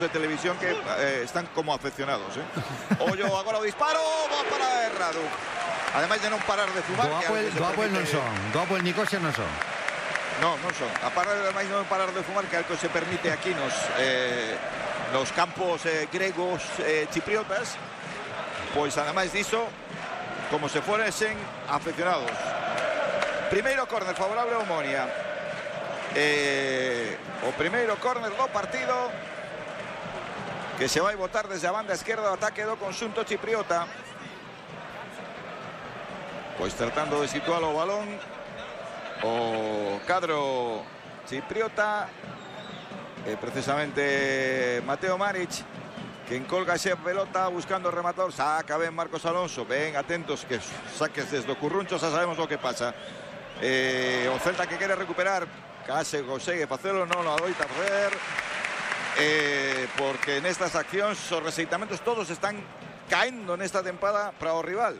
de televisión que están como afeccionados, Ollo agora o disparo, va para Radu. Ademais de non parar de fumar. Do Apple non son, do Apple Nicosia non son. Non son. A parar ademais de non parar de fumar, que algo se permite aquí nos campos gregos chipriotas, pois ademais diso, como se foresen afeccionados. Primeiro córner favorable a Omonia. O primeiro córner do partido que se vai botar desde a banda esquerda do ataque do conxunto chipriota. Pois tratando de situar o balón o cadro chipriota, precisamente Mateo Maric, que encolga esa pelota buscando o rematador. Saca ben Marcos Alonso, ben atentos que saques desde o curruncho, xa sabemos o que pasa. O Celta que quere recuperar, case consegue facelo, non o adoita facer, porque nestas accións os rexeitamentos todos están caendo nesta tempada para o rival.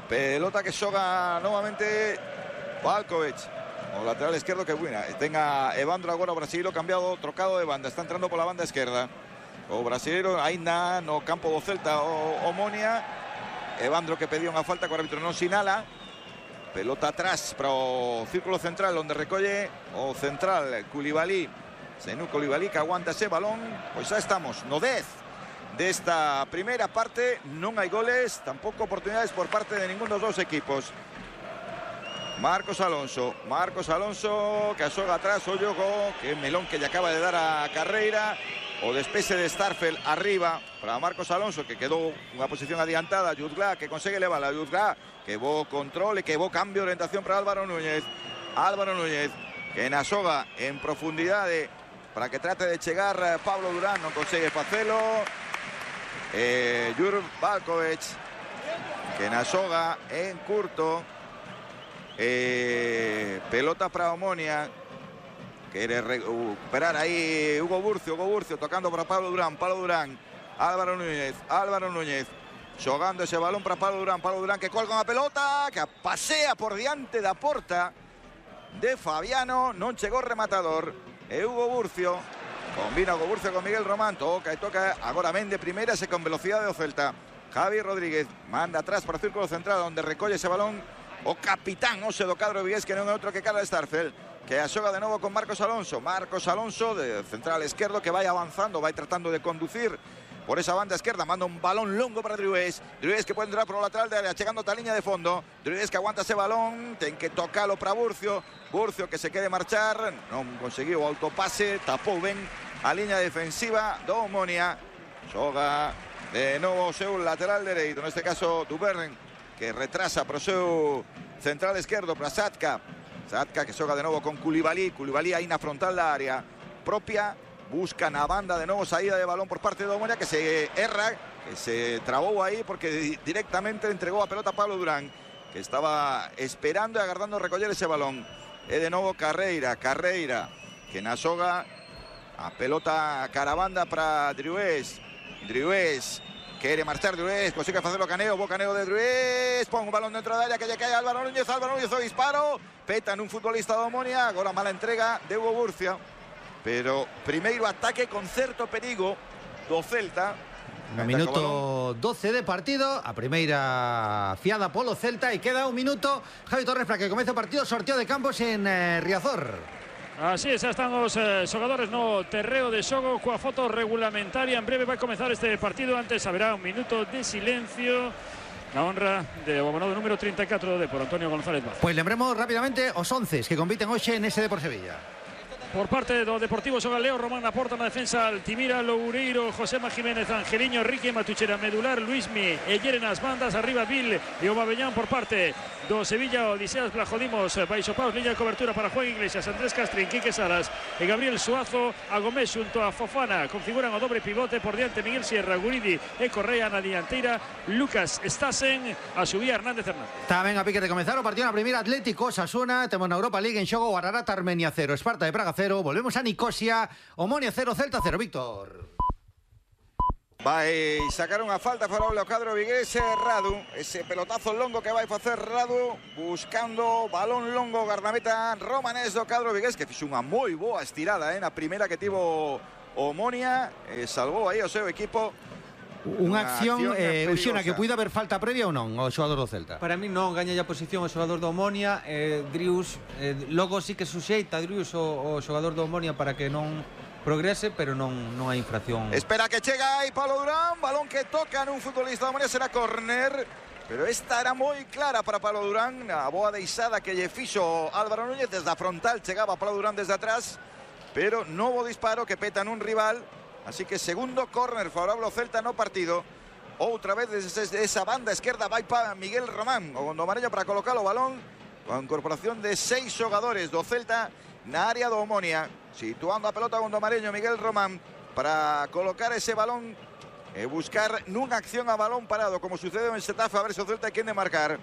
Pelota que xoga novamente Valkovic, o lateral esquerdo que buena. Tenga Evandro agora o brasileiro cambiado, trocado de banda, está entrando pola banda esquerda. O brasileiro aínda no campo do Celta o Omonia. Evandro que pedía unha falta que o árbitro non sinala. Pelota atrás para o círculo central, onde recolle o central Koulibaly. Senou Koulibaly que aguanta ese balón. Pois xa estamos no 10 desta primeira parte. Non hai goles, tampouco oportunidades por parte de ningún dos dous equipos. Marcos Alonso que asoga atrás o xogo, que melón que lle acaba de dar a carreira. O despexe de Starfel arriba para Marcos Alonso, que quedou unha posición adiantada. Jutgla que consegue levar a Jutgla, que bo control e que bo cambio de orientación para Álvaro Núñez, que na soga en profundidade para que trate de chegar Pablo Durán, non consegue facelo. Jur Valkovic, que na soga en curto. Pelota para Omonia, quiere recuperar ahí Hugo Burcio tocando para Pablo Durán, Álvaro Núñez xogando ese balón para Pablo Durán que colga unha pelota que pasea por diante da porta de Fabiano, non chegou rematador. E Hugo Burcio combina Hugo Burcio con Miguel Román, toca agora Mende primeira e con velocidade do Celta. Javi Rodríguez manda atrás para o círculo central, onde recolle ese balón o capitán Ose do cadro vigués, que non é outro que Carlos Starfel, que axoga de novo con Marcos Alonso, de central esquerdo, que vai avanzando, vai tratando de conducir por esa banda esquerda, manda un balón longo para Driués que puede entrar por o lateral de área, chegando ata a liña de fondo. Driués que aguanta ese balón, ten que tocalo para Burcio que se quede marchar, non conseguiu o autopase, tapou ben a liña defensiva do Omonia. Xoga de novo o seu lateral dereito, neste caso Duvern, que retrasa para o seu central esquerdo, para Satka que xoga de novo con Koulibaly aí na frontal da área propia, busca na banda de novo saída de balón por parte de Omonia, que se erra, que se trabou aí porque directamente entregou a pelota a Pablo Durán, que estaba esperando e agardando recoller ese balón. E de novo Carreira, que na xoga a pelota carabanda para Driués quere marchar Driués, consigue facer o caneo, bo caneo de Driués, pon un balón dentro da área que lle cae a Álvaro Núñez o disparo, peta nun futbolista do Omonia, agora mala entrega de Hugo Burcio, pero primeiro ataque con certo perigo do Celta. No minuto 12 de partido, a primeira fiada polo Celta, e queda un minuto, Javi Torres, para que comece o partido, sorteo de campos en Riazor. Así es, están os xogadores no terreo de xogo coa foto regulamentaria. En breve vai comezar este partido, antes haberá un minuto de silencio na honra de o abonado número 34 de por Antonio González Vaz. Pois lembremos rápidamente os 11 que compiten hoxe en SD por Sevilla. Por parte do Deportivo xoga Leo Román na porta, na defensa Altimira, Loureiro, Josema Jiménez, Angeliño, Rique, Matuchera, Medular, Luismi e Yeren as bandas, arriba Vil e Obabellán. Por parte do Sevilla, Odiseas Blajodimos, baixo paus, liña de cobertura para Juan Iglesias, Andrés Castrín, Quique Salas e Gabriel Suazo. A Gómez xunto a Fofana configuran o dobre pivote, por diante Miguel Sierra, Guridi e Correa na dianteira, Lucas Stassen, a subía Hernández. Tamén a pique de comezar o partido na primeira, Atlético Osasuna, temos na Europa League en xogo Guararata Armenia 0, Esparta de Praga 0, volvemos a Nicosia, Omonia 0, Celta 0, Víctor. Vai sacar unha falta favorable ao cadro vigués, Radu, ese pelotazo longo que vai facer Radu, buscando balón longo, guardameta romanés do cadro vigués, que fixo unha moi boa estirada na primeira que tivo Omonia salvou aí o seu equipo. Unha acción, Uxiona, que puida haber falta previa ou non ao xogador do Celta? Para mí non, gaña a posición o xogador do Omonia. Drius, logo sí que suxeita Drius o xogador do Omonia para que non progrese, pero non hai infracción. Espera que chega aí Pablo Durán, balón que toca nun futbolista do Omonia, será córner, pero esta era moi clara para Pablo Durán, a boa deixada que lle fixo Álvaro Núñez desde a frontal, chegaba Pablo Durán desde atrás, pero novo disparo que peta nun rival. Así que segundo córner favorable ao Celta no partido. Outra vez desde esa banda esquerda vai para Miguel Román, o gondomareño, para colocar o balón, con incorporación de 6 xogadores do Celta na área do Omonia, situando a pelota gondomareño Miguel Román para colocar ese balón e buscar nunha acción a balón parado, como sucedeu en Xetafe, a ver se o Celta hai quen de marcar.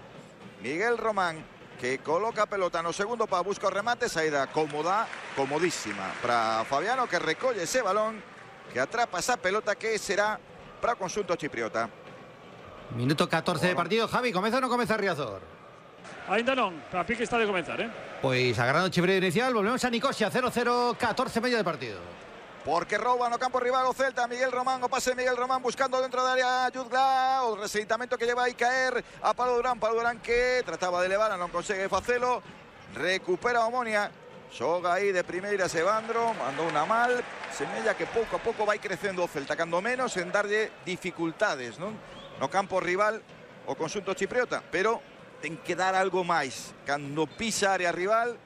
Miguel Román, que coloca a pelota no segundo para buscar o remate, saída cómoda, comodísima para Fabiano, que recolle ese balón, que atrapa esa pelota, que será para o conxunto chipriota. Minuto 14 de partido. Javi, comeza ou non comeza Riazor? Ainda non, para pique está de comenzar, Pois agardando o chifrido inicial, volvemos a Nicosia, 0-0, 14 medio de partido. Porque rouba no campo rival o Celta. Miguel Román, o pase de Miguel Román buscando dentro da área Yudgla, o rexeitamento que lleva aí caer a Pablo Durán. Pablo Durán que trataba de levar, non consegue facelo, recupera a Omonia. Xoga aí de primeiras Evandro, mandou unha mal, semella que pouco a pouco vai crecendo o Celta, cando menos en darlle dificultades, non? No campo rival o conxunto chipriota, pero ten que dar algo máis. Cando pisa a área rival,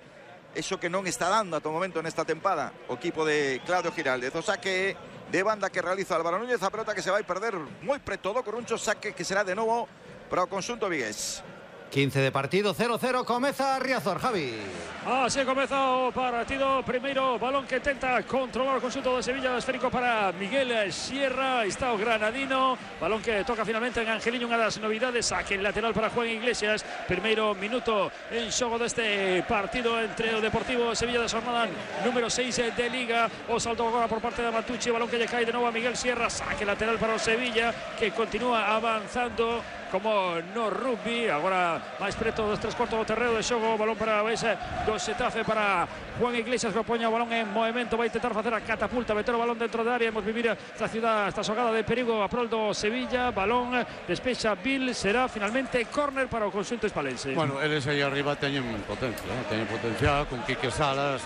eso que non está dando ata o momento nesta tempada o equipo de Claudio Giraldez. O saque de banda que realiza Álvaro Núñez, a pelota que se vai perder moi preto do Coruncho, saque que será de novo para o conxunto vigués. 15 de partido, 0-0, comeza Riazor, Javi. Así comeza o partido. Primeiro balón que tenta controlar o conxunto de Sevilla, esférico para Miguel Sierra, está o granadino, balón que toca finalmente en Angeliño, unha das novidades, saque lateral para Juan Iglesias. Primeiro minuto en xogo deste partido entre o Deportivo Sevilla da jornada número 6 de Liga. O salto agora por parte de Matucci, balón que lle cae de novo a Miguel Sierra, saque lateral para o Sevilla, que continúa avanzando como no rugby, agora máis preto dos 3/4 do terreo de xogo. Balón para ese do Xetafe para Juan Iglesias, que opoña o balón en movimento, vai intentar facer a catapulta, meter o balón dentro da área. Hemos vivir esta ciudad, esta xogada de perigo a prol do Sevilla. Balón despexa Bill, será finalmente córner para o conxunto hispalense. Bueno, eles aí arriba teñen potencia, teñen potencial con Quique Salas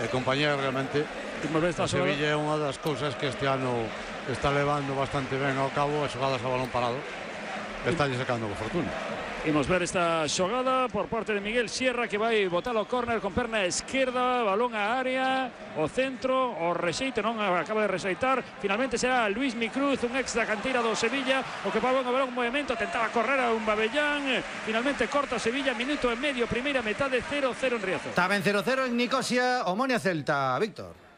e compañía. Realmente o Sevilla é unha das cousas que este ano está levando bastante ben ao cabo, as xogadas a balón parado. Está sacando con fortuna. Imos ver esta xogada por parte de Miguel Sierra, que vai botar o córner con perna esquerda, balón a área, o centro, o rexeite, non acaba de rexeitar. Finalmente será Luismi Cruz, un ex da canteira do Sevilla, o que pagou o balón en movimento, tentaba correr a un Babellán, finalmente corta Sevilla, minuto e medio, primeira metade, 0-0 en Riazor. Está ben 0-0 en Nicosia, Omonia Celta, Víctor.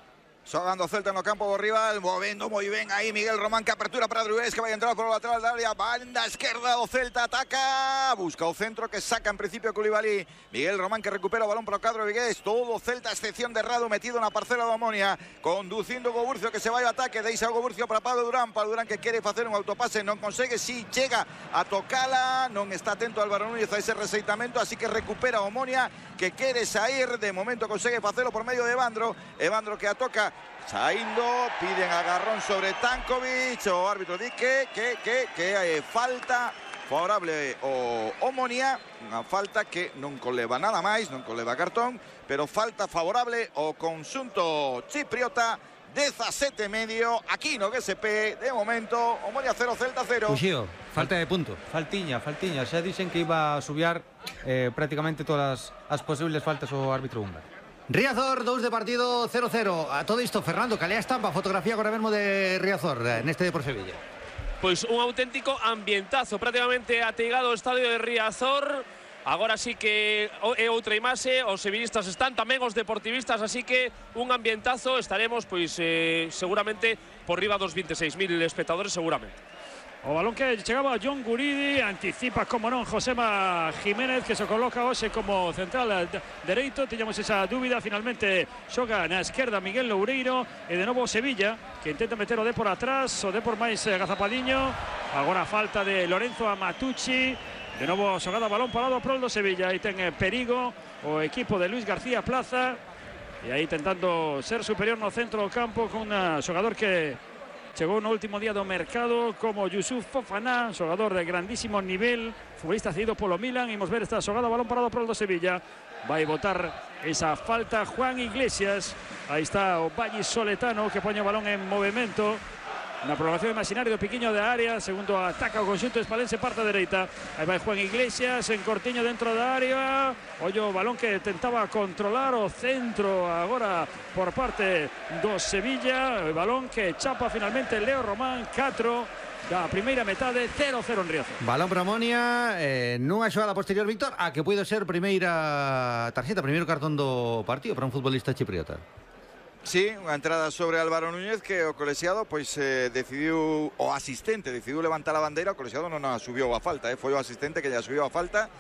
Xogando Celta no campo do rival, movendo moi ben aí Miguel Román, que apertura para Drués, que vai entrar por o lateral da área, banda esquerda, o Celta ataca, busca o centro que saca en principio Coulibaly. Miguel Román que recupera o balón para o cadro vigués, todo o Celta a excepción de Rado metido na parcela do Omonia, conducindo o Goburcio, que se vai ao ataque, deixa o Goburcio para Pablo Durán, que quere facer un autopase, non consegue, si chega a tocala, non está atento Álvaro Núñez a ese rexeitamento, así que recupera o Omonia, que quere sair, de momento consegue facelo por medio de Evandro que atoca, saindo, piden agarrón sobre Tankovic, o árbitro di que falta favorable o Omonia, unha falta que non coleva nada máis, non coleva cartón, pero falta favorable o conxunto chipriota, 17 medio, aquí no GSP, de momento, Omonia 0, Celta 0. Uxío, falta de punto. Faltiña, xa dixen que iba a subiar prácticamente todas as posibles faltas o árbitro húngaro. Riazor, 2 de partido, 0-0. A todo isto, Fernando, calea estampa, fotografía agora mesmo de Riazor neste Depor Sevilla. Pois un auténtico ambientazo, prácticamente ateigado o estadio de Riazor. Agora sí que é outra imaxe, os sevillistas están, tamén os deportivistas, así que un ambientazo. Estaremos, pois, seguramente por riba dos 26.000 espectadores, seguramente. O balón que chegaba a John Guridi, anticipa, como non, Josema Jiménez, que se coloca hoxe como central dereito. Tiñamos esa dúbida, finalmente xoga na esquerda Miguel Loureiro, e de novo Sevilla, que intenta meter o Depor atrás, o Depor máis agazapadiño. Agora falta de Lorenzo a Matucci, de novo xogada balón parado prol do Sevilla, aí ten perigo o equipo de Luis García Plaza. e aí intentando ser superior no centro do campo con un xogador que chegou no último día do mercado como Youssouf Fofana, xogador de grandísimo nivel, futbolista cedido polo Milan. Imos ver esta xogada, balón parado para o do Sevilla. Vai botar esa falta Juan Iglesias. Aí está o vallisoletano que poñe o balón en movimento. Na prolongación imaginaria do piquiño de área, segundo ataca o conxunto hispalense, parte dereita. Aí vai Juan Iglesias en cortiño dentro da área. Ollo o balón que tentaba controlar o centro agora por parte do Sevilla. O balón que chapa finalmente Leo Román, 4 da primeira metade, 0-0 en Riazor. Balón para Omonia, nunha xogada posterior, Víctor, a que puido ser primeira tarxeta, primeiro cartón do partido para un futbolista chipriota. Sí, unha entrada sobre Álvaro Núñez que o colexiado pois decidiu, o asistente decidiu levantar a bandeira. O colexiado non a subiu a falta, foi o asistente que lle subiu a falta.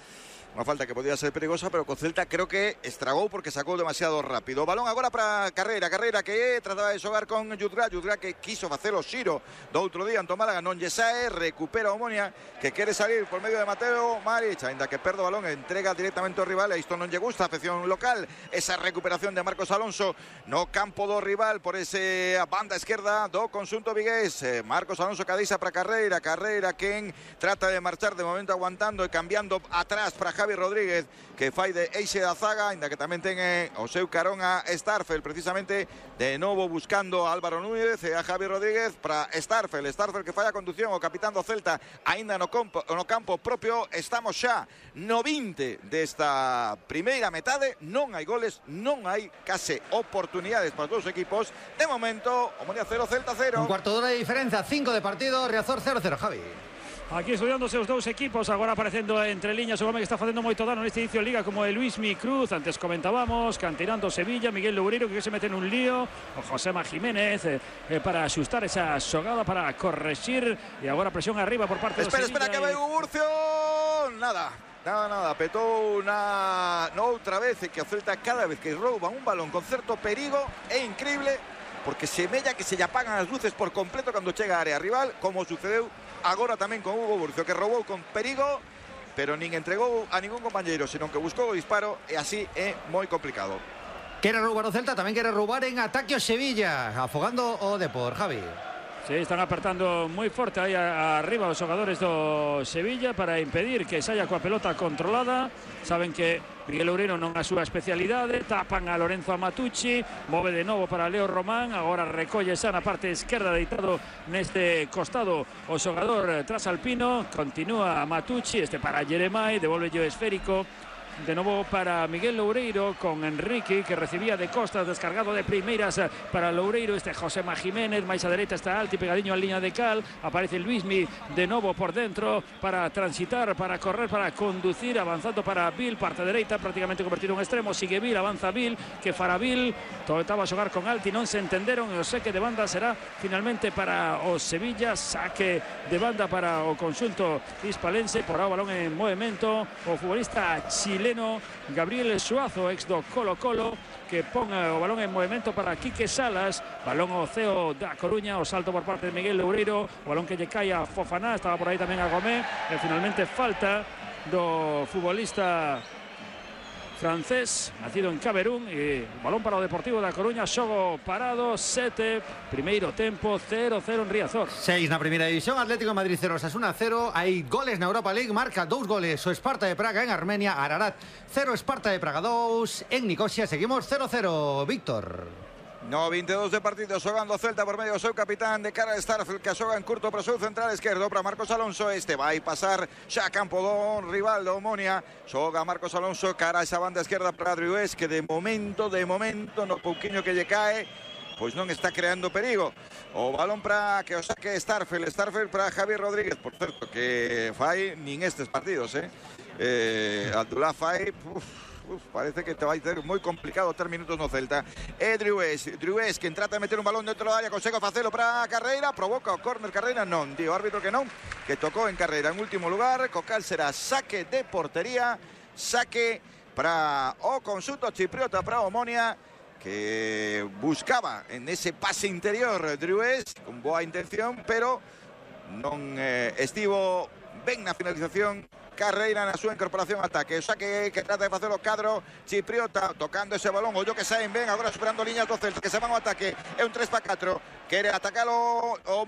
Unha falta que podía ser perigosa, pero co Celta creo que estragou porque sacou demasiado rápido. Balón agora para Carreira que trataba de xogar con Yudra que quiso facer o xiro do outro día ante o Málaga, non lle sae, recupera o Omonia que quere salir por medio de Mateo Maric, ainda que perde o balón, entrega directamente ao rival, e isto non lle gusta a afección local. Esa recuperación de Marcos Alonso no campo do rival por ese banda esquerda do conxunto vigués. Marcos Alonso cadeixa para Carreira quen trata de marchar, de momento aguantando e cambiando atrás para Javi Rodríguez, que fai de eixe da zaga, ainda que tamén ten o seu carón a Starfel, precisamente de novo buscando a Álvaro Núñez e a Javi Rodríguez para Starfel que fai a conducción, o capitán do Celta aínda no campo propio. Estamos xa no 20 desta primeira metade, non hai goles, non hai case oportunidades para os dous equipos. De momento, Omonia 0, Celta 0. Un cuarto de hora de diferencia, 5 de partido, Riazor 0-0, Javi. Aquí estudiándose os dous equipos, agora aparecendo entre liñas o home que está facendo moito dano neste inicio de liga, como el Luismi Cruz. Antes comentábamos, canterando Sevilla, Miguel Loureiro que se mete en un lío, o Josema Jiménez para axustar esa xogada, para correxir, e agora presión arriba por parte do Sevilla. Espera, que vai Hugo Burcio. Nada, petou outra vez, que o Celta cada vez que rouba un balón con certo perigo é increíble, porque semella que se lle apagan as luces por completo cando chega a área rival, como sucedeu agora tamén con Hugo Burcio, que roubou con perigo, pero nin entregou a ningún compañeiro, senón que buscou o disparo, e así é moi complicado. Quere roubar o Celta, tamén quere roubar en ataque o Sevilla, afogando o Depor, Javi. Sí, están apertando moi forte aí arriba os xogadores do Sevilla para impedir que saia coa pelota controlada. Saben que Miguel Loureiro non é a súa especialidade, tapan a Lorenzo Amatucci, move de novo para Leo Román, agora recolle xa na parte esquerda, deitado neste costado o xogador trasalpino, continúa Amatucci, para Jeremai, devolve o esférico. De novo para Miguel Loureiro con Enrique, que recibía de costas, descargado de primeiras para Loureiro. Josema Jiménez, máis a dereita está Alti, pegadiño a liña de cal. Aparece Luismi de novo por dentro para transitar, para correr, para conducir, avanzando para Vil, parte dereita, prácticamente convertido en extremo. Sigue Vil, avanza Vil, que fará Vil, tentaba xogar con Alti, non se entenderon, e o saque de banda será finalmente para o Sevilla. Saque de banda para o conxunto hispalense, por o balón en movimento o futbolista chileno Gabriel Suazo, ex do Colo-Colo, que pon o balón en movimento para Quique Salas. Balón ao CEO da Coruña, o salto por parte de Miguel Loureiro, o balón que lle cae a Fofana, estaba por aí tamén a Gomé, e finalmente falta do futbolista francés, nacido en Camerún, e balón para o Deportivo da Coruña. Xogo parado, 7, primeiro tempo, 0-0 en Riazor. 6 na primeira división, Atlético de Madrid 0, Osasuna 0. Hai goles na Europa League, marca 2 goles o Esparta de Praga en Armenia, Ararat 0, Esparta de Praga 2 en Nicosia. Seguimos 0-0, Víctor. No, 22 de partido, xogando Celta por medio do seu capitán de cara a Starfield, que xoga en curto para o seu central esquerdo, para Marcos Alonso. Vai pasar xa a campo do rival do Omonia. Xoga Marcos Alonso cara a esa banda esquerda para Driués, que de momento, no pouquiño que lle cae, pois non está creando perigo. O balón para que o saque Starfield para Javi Rodríguez, por certo, que fai nin estes partidos, Abdullah fai... parece que te vai ser moi complicado ter minutos no Celta. Driués, que trata de meter un balón dentro da área, consegue facelo para Carreira, provoca o córner Carreira, non, di o árbitro que non, que tocou en Carreira en último lugar, co cal será saque de portería, saque para o conxunto chipriota, para Omonia, que buscaba en ese pase interior Driués, con boa intención, pero non estivo ben na finalización Carreira na súa incorporación ao ataque. O saque que trata de facer o cadro chipriota, tocando ese balón. O yo que saen ben, agora superando liñas do Celta, que se van ao ataque. É un 3-4. Quere atacalo o